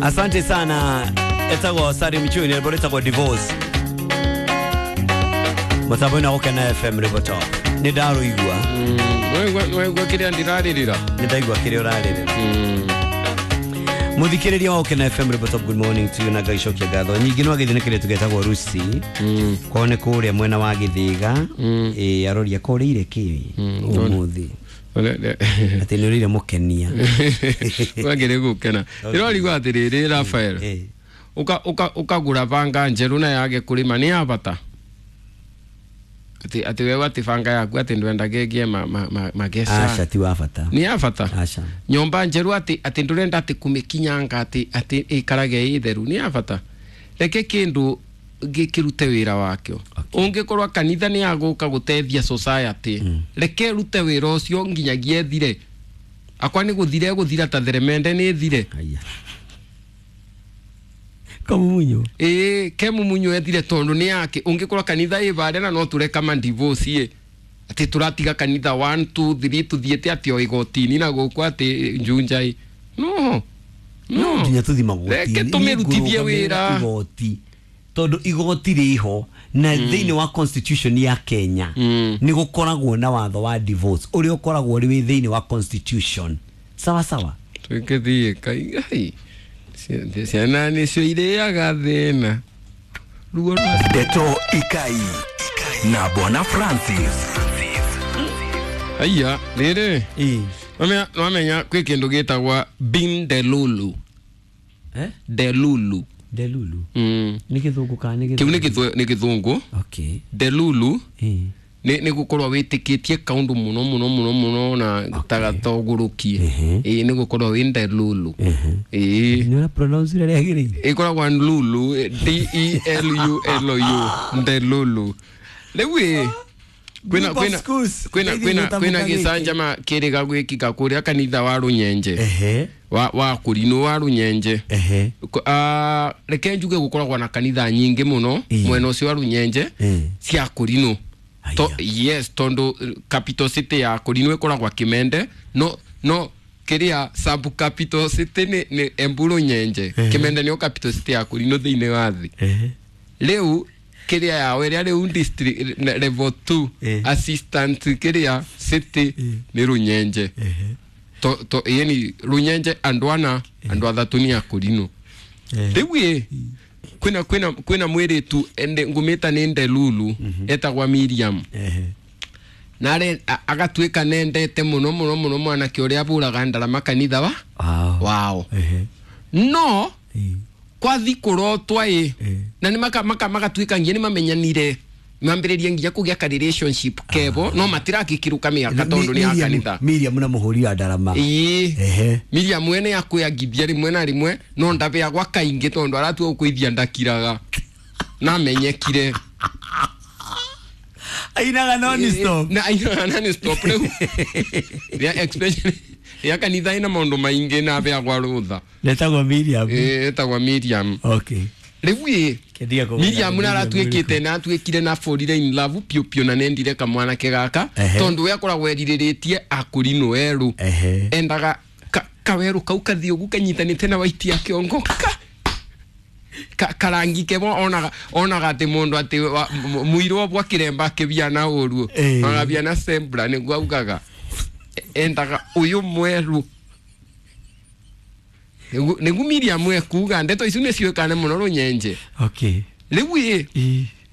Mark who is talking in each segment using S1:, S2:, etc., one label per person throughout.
S1: Asante sana etagwo Sari Mchuni rwĩmbo rwĩtagwo Divorce mũtambo-inĩ wa Gũkena FM rwĩmbo top nĩ ndarũigua.
S2: Waigua kĩrĩa ndĩrarĩrĩra?
S1: Nĩ ndaigua kĩrĩa ũrarĩrĩra. Mũthikĩrĩria wa Gũkena FM rwĩmbo top, good morning to you na Ngai cokia ngatho nyingĩ. No agĩthiĩ nĩ kĩrĩa tũgetagwo Rusi kwao nĩ kũrĩa mwena wa Gĩthĩga. Ĩ aroria korĩire kĩ ũmũthĩ atĩ nĩ ũrĩire mũkenia.
S2: Wagĩrĩ gũkena ndĩrorigwo atĩrĩrĩ Rafael, ũkagũra banga njerũ na yage kũrĩma nĩ ya bata atĩ wewe atĩ banga yaku atĩ ndwenda gĩgie mageca.
S1: Aca, ti wa bata.
S2: Nĩ ya bata.
S1: Aca.
S2: Nyũmba njerũ atĩ ndũrenda atĩ kũmĩkinyanga atĩ ĩikarage ĩ theru nĩ ya bata. Reke kĩndũ gĩkĩrute wĩra wakĩo. Ũngĩkorwo kanitha nĩ yagũka gũteithia society, reke ĩrute wĩra ũcio nginyagia ĩthire. Akwa nĩ gũthira ĩgũthira ta theremende nĩ ĩthire.
S1: Aya, kamumunyo.
S2: Ĩĩ, ke mumunyo ethire tondũ nĩ yake. Ũngĩkorwo kanitha ĩ barĩa na no tũreka ma divorce ĩ atĩ tũratiga kanitha 1 2 3 tũthiĩte atĩ o igoti-inĩ na gũkũ atĩ njunja ĩ no.
S1: No nginya tũthi magoti.
S2: Reke tũmĩrutithie wĩra.
S1: Igoti tondũ igoti rĩho na thĩinĩ wa constitution ya Kenya nĩ gũkoragwo na watho wa divorce ũrĩa ũkoragwo ũrĩ wĩ thĩinĩ wa constitution, sawa sawa.
S2: Twĩkĩthiĩ kai ai ciana nĩcio irĩaga thĩna ruo rwa
S3: Ndeto Ikai na Bwana Francis.
S2: Aya rĩrĩ.
S1: Ĩ.
S2: Nwamenya kwĩ kĩndũ gĩtagwa bin delulu.
S1: Eh?
S2: Delulu.
S1: Delulu nĩ gĩthũngũ kana nĩ
S2: Kĩu nĩ gĩthũngũ.
S1: Okay.
S2: Delulu
S1: ĩ
S2: nĩ gũkorwo wĩtĩkĩtie kaũndũ mũno mũno mũno mũno na tagatogũrũkie. Ĩĩ, nĩ gũkorwo wĩ ndelulu. Ĩĩ.
S1: Nĩ ũra pronounce ũrĩa rĩagĩrĩire.
S2: Ĩkoragwo lulu, delulu, ndelulu. Rĩu ĩ kwĩna
S1: Group of
S2: kwĩna
S1: schools.
S2: kwĩna
S1: Ndeithie
S2: kwĩna
S1: gũtamũka
S2: kwĩna
S1: gĩkĩ.
S2: gĩcanjama kĩrĩga gwĩkĩka kũrĩa kanitha wa Rũnyenje wa kũrinũ wa Rũnyenje. Reke njuge gũkoragwo na kanitha nyingĩ mũno mwena ũcio wa Rũnyenje cia kũrinũ.
S1: Aya.
S2: Yes, tondũ capital city ya kũrinũ ĩkoragwo Kĩmende, no kĩrĩa sub capital city nĩ Embu Rũnyenje. Kĩmende nĩyo capital city ya kũrinũ thĩinĩ wa thĩ. Rĩu kĩrĩa yao ĩrĩa rĩu district level 2 assistant kĩrĩa city nĩ Rũnyenje. To yani Rũnyenje andũ ana andũ athatũ nĩ a kũrinũ. Rĩu ĩ kwĩna mwĩrĩtu ende ngũmĩta nĩ ndelulu etagwa Miriam. Nare agatuĩka nendete mũno mũno mũno mwanake ũrĩa abũraga ndarama kanitha wa wao. No kwathi kũrotwa ĩ na nĩ magatuĩka nginya nĩ mamenyanire mambĩrĩrie nginya kũgĩa ka relationship kebo no matirakĩkĩrũka mĩaka tondũ nĩ ya kanitha.
S1: Miriam na mũhũri wa ndarama.
S2: Ĩĩ. Miriam mwene akwĩangithia rĩmwe na rĩmwe no ndabeagwa kaingĩ tondũ aratua gũkũithia ndakiraga namenyekire.
S1: Ainaga non stop.
S2: Na ainaga non stop rĩu rĩa expression ya kanitha ĩna maũndũ maingĩ na abeagwa rũtha.
S1: Netagwo Miriam.
S2: Ĩĩ, etagwa Miriam.
S1: Okay.
S2: Rĩu ĩ
S1: Kendia kũgũra
S2: Miriam
S1: Miriam.
S2: naratuĩkĩte na atuĩkire na fall in love piũ piũ na nendire kamwanake gaka tondũ we akoragwo erirĩrĩtie akũrinũ erũ. Endaga kawerũ kau kathiĩ ũguo kanyitanĩte na waiti ya kĩongo karangi kemo onaga atĩ mũndũ atĩ mũirũ obwa kĩremba akĩbiana ũru agabiana sembra nĩguo augaga endaga ũyũ mwerũ nĩguo Miriam ekuga ndeto icio nĩciũĩkane mũno Rũnyenje.
S1: Okay.
S2: Rĩu ĩ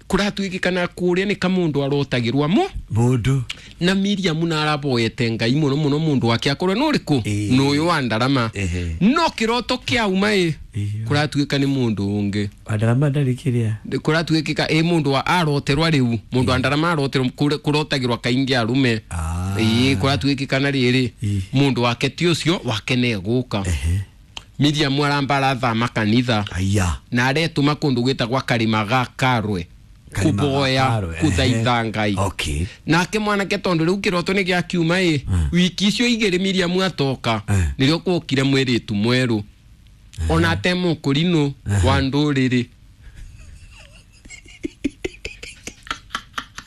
S2: kũratuĩkĩkana kũrĩa nĩ kamũndũ arotagĩrwa mo
S1: Mũndũ.
S2: Na Miriam naraboete Ngai mũno mũno mũndũ wake akorwo nĩ ũrĩkũ nĩ ũyũ wa ndarama no kĩroto kĩauma ĩ kũratuĩka nĩ mũndũ ũngĩ.
S1: Wa ndarama ndarĩ kĩrĩa.
S2: Kũratuĩkĩka ĩ mũndũ wa aroterwa rĩu mũndũ wa ndarama aroterwo kũrotagĩrwa kaingĩ arume. Ĩĩ, kũratuĩkĩka na rĩrĩ mũndũ wake ti ũcio wake nĩ egũka. Miriam aramba arathama kanitha.
S1: Aya.
S2: Na aretũma kũndũ gwĩtagwa Karĩma ga Karwe
S1: Karĩma ga
S2: kũboya
S1: Karwe,
S2: kũthaitha Ngai. Nake mwanake tondũ rĩu kĩroto nĩ gĩakiuma ĩ wiki icio igĩrĩ Miriam atoka nĩrĩo kwokire mwĩrĩtu mwerũ ona ate mũkũrinũ wa ndũrĩrĩ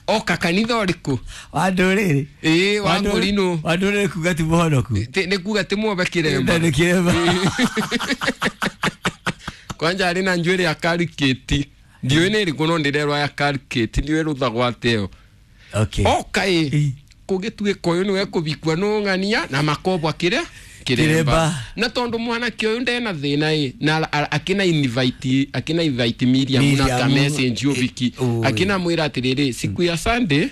S2: oka kanitha ũrĩkũ?
S1: Wa ndũrĩrĩ.
S2: Ĩĩ, wa ngũrinũ.
S1: Wa ndũrĩrĩ kuga ti mũhonoku.
S2: Nĩ kuga ti muobe kĩremba.
S1: Nĩ kĩremba.
S2: Kwanja ari na njuiri ya kariketi ndiũĩ nĩ ĩrĩkũ no ndĩrerwa ya kariketi ndiũĩ rũthagwo atĩo.
S1: Okay.
S2: Oka ĩ kũgĩtuĩka ũyũ nĩwe kũbikua nũng'ania na makobwa kĩrĩa
S1: Kĩremba.
S2: Na tondu mwanake ũyũ ndena thĩna ĩ na akina invite akina invite Miriam na ka message ũbiki akina mwĩra atĩrĩrĩ siku ya Sunday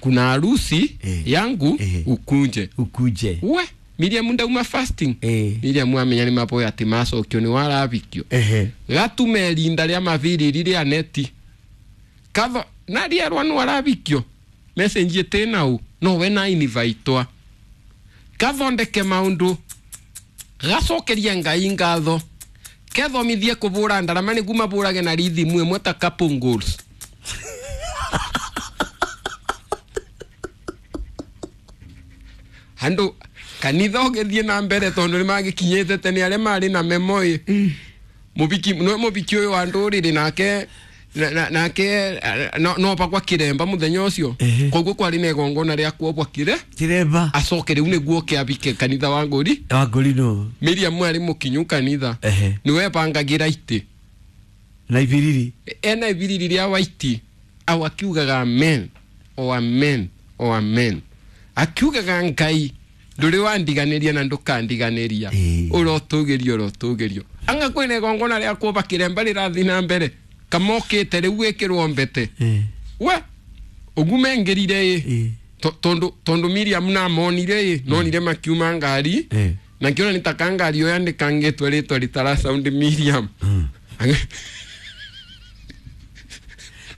S2: kuna harusi yangu ukunje
S1: ukuje.
S2: We Miriam ndauma fasting. Miriam amenya nĩ maboya atĩ macokio nĩ warabikio. Gatume rinda rĩa mabiriri rĩa neti katho na rĩerwa nĩ warabikio message ĩtĩ no we na invitewa kathondeke maundu gacokerie Ngai ngatho kethomithie kũbũra ndarama nĩguo mabũrage na rithimu ĩmwe ta couple goals. Andu kanitha ũgĩthiĩ na mbere tondũ nĩmagĩkinyĩte tene arĩa marĩ na memoĩ mũbiki no mũbiki ũyũ wa ndũrĩrĩ nake nake no pakwa kiremba muthenya ucio koguo kwari na igongona ria kuobwa kire
S1: kiremba
S2: acoke riu niguo kiabike kanitha wa nguri
S1: no
S2: Miriam ari mukinyu kanitha niwe bangagira iti
S1: na ibiriri
S2: ena ibiriri ria waiti au akiugaga amen o amen o amen akiugaga Ngai nduri wandiganiria na ndukandiganiria urotugirio urotugirio anga kwina igongona ria kuoba kiremba rirathi na mbere kamokite riu gwikirwo mbete we ugume ngirire i tondu Miriam na monire i nonire makiuma ngari na kiona ni takangari yo yandikangitwe ritwa ritara sound Miriam.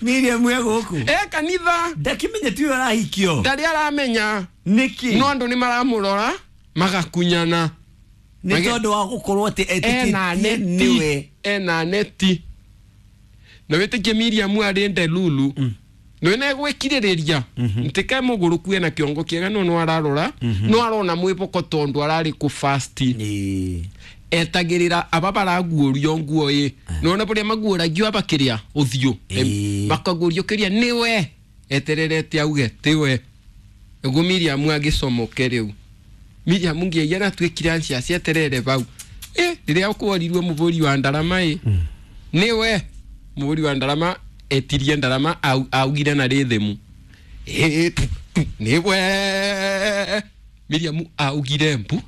S1: Miriam we guku
S2: kanitha
S1: ndakimenya tu arahikio
S2: ndari aramenya
S1: niki
S2: no andu ni maramurora magakunyana
S1: ni tondu wa gukorwo ati etikitie niwe
S2: ena neti na witikie Miriam ari ndelulu no ene gwikiririria ntike muguruku ena kiongo kiega no no ararora no arona mwiboko tondu arari ku fast etagirira aba baraguorio nguo i nona buria maguoragio abakiria uthio bakaguorio kiria niwe etererete auge tiwe ugu Miriam agicomoke riu Miriam ngiagia na twikire ancia cieterere bau riria ukworirwe muburi wa ndarama i niwe muburi wa ndarama etirie ndarama augire na rithimu niwe Miriam augire mbu.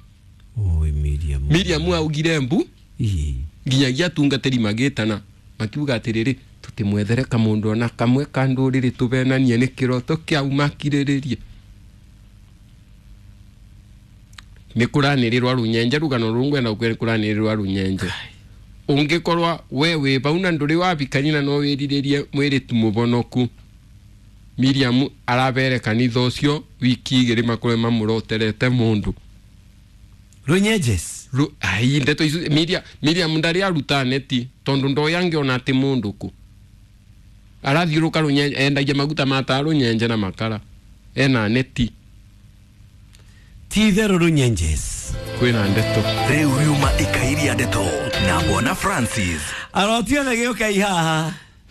S1: Oi Miriam
S2: Miriam augire mbu nginyagia tungatĩri magĩtana makiuga atĩrĩrĩ tũtimwethere kamundu ona kamwe ka ndũrĩrĩ tũvenanie nĩ kĩroto kĩauma kirĩrĩrie nĩ kũranĩrĩrwa rũnyenje rũgano rũu ngwenda gũkwĩra nĩ kũranĩrĩrwa rũnyenje ũngĩkorwa we wĩ bau na ndũrĩ wabikani na no wĩrirĩrie mwĩrĩtu mũbonoku Miriam arabere kanitha ũcio wiki igĩrĩ makorwe mamũroterete mũndũ
S1: Runyejes
S2: ai ndeto icu Miriam ndari aruta neti tondu ndoyangiona ati mundu ku arathiuruka runyenje endagia maguta mata runyenje na makara ena neti
S1: ti theru runyenjes
S2: kwina ndeto
S3: riu riuma ikairia ndeto na Bwana Francis
S1: arotia thegeuka ihaha.